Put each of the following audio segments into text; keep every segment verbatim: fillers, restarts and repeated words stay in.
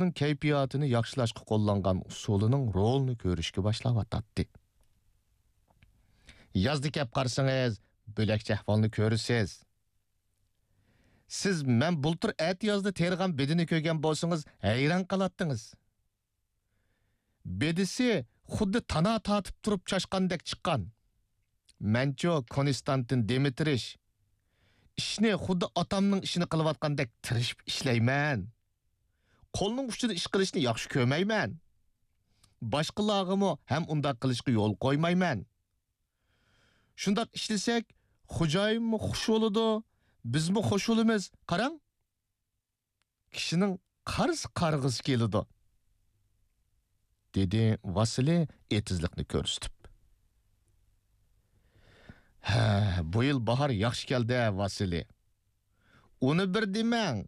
خەلقنىڭ كەيپىياتىنى ياخشىلاشقا قوللانغان ئۇسۇلىنىڭ رولىنى كۆرۈشكە باشلاۋاتاتتى. يازدا كەپ قارىسىڭىز، بۆلەكچە ئەھۋالنى كۆرىسىز. سىز مەن بۇلتۇر ئەتىيازدا تېرىغان بېدىنى كۆرگەن بولسىڭىز، ھەيران قالاتتىڭىز. بېدىسى خۇددى تانا تارتىپ تۇرۇپ چاچقاندەك چىققان. مەنچۇ كونستانتىن دىمىترىچ، ئىشنى خۇددى ئاتامنىڭ ئىشىنى قىلىۋاتقاندەك تىرىشىپ ئىشلەيمەن. قولنىڭ ئۇچىدا ئىش قىلىشنى ياخشى كۆرمەيمەن. باشقىلارغىمۇ ھەم ئۇنداق قىلىشقا يول قويمايمەن. شۇنداق ئىشلىسەك، خوجايىنمۇ خۇش بولىدۇ، بىزمۇ خۇش بولىمىز. قاراڭ، كىشىنىڭ قارىسا قارىغۇسى كېلىدۇ، دېدى ۋاسىلى ئېتىزلىقنى كۆرسىتىپ. ھە، بۇ يىل باھار ياخشى كەلدى، ۋاسىلى. ئۇنى بىر دېمەڭ.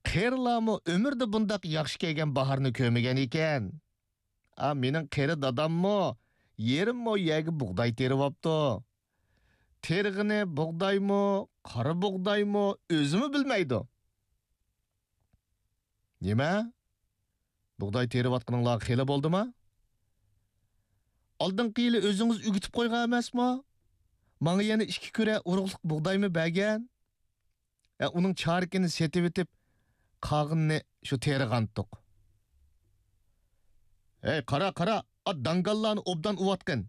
قېرىلارمۇ ئۆمرىدە بۇنداق ياخشى كەلگەن باھارنى كۆرمىگەن ئىكەن. ئا، مېنىڭ قېرى داداممۇ يېرىم مو يەرگە بۇغداي تېرىۋاپتۇ. تېرىغىنى بۇغدايمۇ، قارا بۇغدايمۇ، ئۆزىمۇ بىلمەيدۇ. نېمە؟ بۇغداي تېرىۋاتقىنىڭلار خېلى بولدىما؟ ئالدىنقى يىلى ئۆزىڭىز ئۆگىتىپ قويغان ئەمەسمۇ؟ ماڭا يەنە ئىككى كۈرە ئۇرۇقلۇق بۇغدايمۇ بەرگەن؟ ھە، ئۇنىڭ چارىكىنى سېتىۋېتىپ، قالغىنىنى شۇ تېرىغانتۇق. ھەي، قارا، قارا، ئات داڭگاللارنى ئوبدان ئۇۋاتقىن،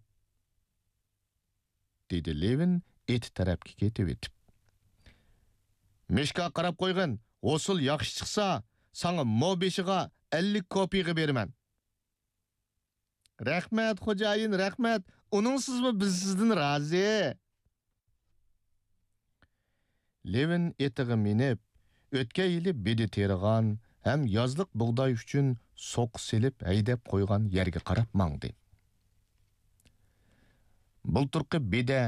دېدى لېۋىن ئېتى تەرەپكە كېتىۋېتىپ. مىشكا قاراپ قويغىن، ھوسۇل ياخشى چىقسا، ساڭا مو بېشىغا ئەللىك كوپىيىغا بېرىمەن. رەھمەت، خوجايىن، رەھمەت. ئۇنىڭسىزمۇ بىز سىزدىن رازى. لېۋىن ئېتىغا مىنىپ، ئۆتكەن يىلى بېدە تېرىغان ھەم يازلىق بۇغداي ئۈچۈن سوقا سېلىپ ھەيدەپ قويغان يەرگە قاراپ ماڭدى. بۇلتۇرقى بېدە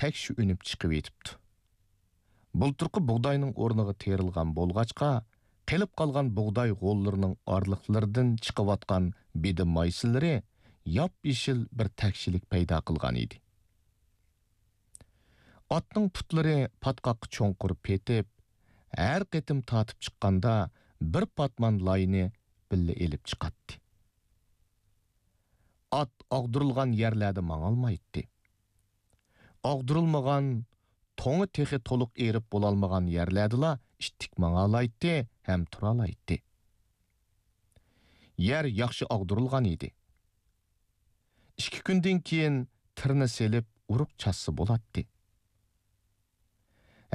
تەكشى ئۈنۈپ چىقىۋېتىپتۇ. بۇلتۇرقى بۇغداينىڭ ئورنىغا تېرىلغان بولغاچقا، قېلىپ قالغان بۇغداي غوللىرىنىڭ ئارىلىقلىرىدىن چىقىۋاتقان بېدە مايسىلىرى ياپيېشىل بىر تەكشىلىك پەيدا قىلغان ئىدى. ئاتنىڭ پۇتلىرى پاتقاققا چوڭقۇر پېتىپ، ھەر قېتىم تارتىپ چىققاندا بىر پاتمان لاينى بىللە ئېلىپ چىقاتتى. ئات ئاغدۇرۇلغان يەرلەردە ماڭالمايتتى. ئاغدۇرۇلمىغان، توڭى تېخى تولۇق ئېرىپ بولالمىغان يەرلەردىلا ئىتتىك ماڭالايتتى ھەم تۇرالايتتى. يەر ياخشى ئاغدۇرۇلغان ئىدى. ئىككى كۈندىن كېيىن تىرنا سېلىپ ئۇرۇق چاچسا بولاتتى.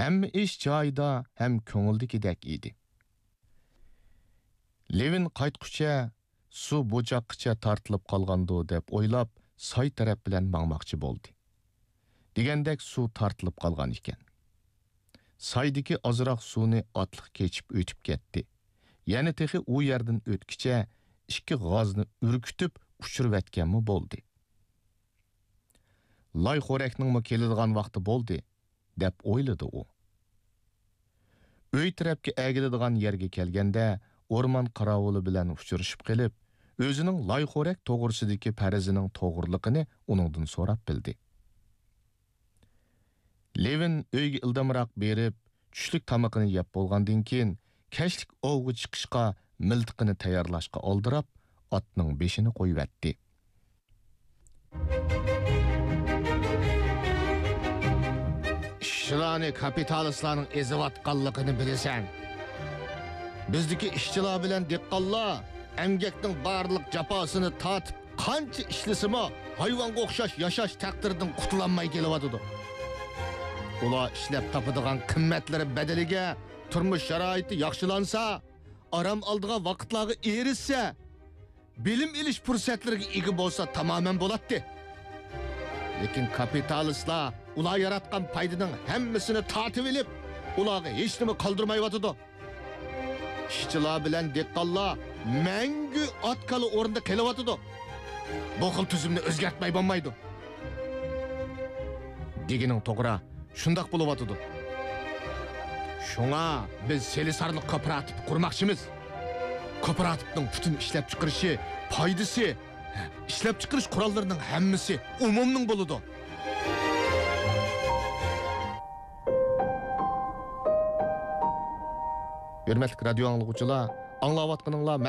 ھەممە ئىش جايىدا ھەم كۆڭۈلدىكىدەك ئىدى. لېۋىن قايتقۇچە سۇ بۇ چاققىچە تارتىلىپ قالغاندۇ دەپ ئويلاپ، ساي تەرەپ بىلەن ماڭماقچى بولدى. دېگەندەك سۇ تارتىلىپ قالغان ئىكەن. سايدىكى ئازراق سۇنى ئاتلىق كېچىپ ئۆتۈپ كەتتى. يەنە تېخى ئۇ يەردىن ئۆتكىچە ئىككى غازنى ئۈركۈتۈپ ئۇچۇرۇۋەتكەنمۇ بولدى. لاي خورەكنىڭمۇ كېلىدىغان ۋاقتى بولدى، دەپ ئويلىدى ئۇ. ئۆي تەرەپكە ئەگىلىدىغان يەرگە كەلگەندە، ئورمان قاراۋۇلى بىلەن ئۇچرىشىپ قېلىپ، ئۆزىنىڭ لاي خورەك توغرىسىدىكى پەرىزىنىڭ توغرىلىقىنى ئۇنىڭدىن سوراپ بىلدى. لېۋىن ئۆيگە ئىلدامراق بېرىپ، چۈشلۈك تامىقىنى يەپ بولغاندىن كېيىن، كەچلىك ئوۋغا چىقىشقا مىلتىقىنى تەييارلاشقا ئالدىراپ، ئاتنىڭ بېشىنى قويۇۋەتتى. ئىشچىلارنى كاپىتالىستلارنىڭ ئېزىۋاتقانلىقىنى بىلىسەن. بىزدىكى ئىشچىلار بىلەن دېھقانلار ئەمگەكنىڭ بارلىق جاپاسىنى تارتىپ، قانچە ئىشلىسىمۇ، ھايۋانغا ئوخشاش ياشاش تەقدىرىدىن قۇتۇلالماي كېلىۋاتىدۇ. ئۇلار ئىشلەپ تاپىدىغان قىممەتلىرى بەدىلىگە تۇرمۇش شارائىتى ياخشىلانسا، ئارام ئالىدىغان ۋاقىتلارغا ئېرىشسە، بىلىم ئېلىش پۇرسەتلىرىگە ئىگە بولسا تامامەن بولاتتى. لېكىن كاپىتالىستلار ئۇلار ياراتقان پايدىنىڭ ھەممىسىنى تارتىۋېلىپ، ئۇلارغا ھېچنېمە قالدۇرمايۋاتىدۇ. ئىشچىلار بىلەن دېھقانلار مەڭگۈ ئات-كالا ئورنىدا قېلىۋاتىدۇ. بۇ خىل تۈزۈمنى ئۆزگەرتمەي بولمايدۇ. دېگىنىڭ توغرا، شۇنداق بولۇۋاتىدۇ. شۇڭا بىز سېلىسارلىق كوپىراتىپى قۇرماقچىمىز. كوپىراتىپنىڭ پۈتۈن ئىشلەپچىقىرىشى، پايدىسى، ئىشلەپچىقىرىش قوراللىرىنىڭ ھەممىسى ئومۇمنىڭ بولىدۇ. ھۆرمەتلىك رادىيو ئاڭلىغۇچىلار، ئاڭلاۋاتقىنىڭلار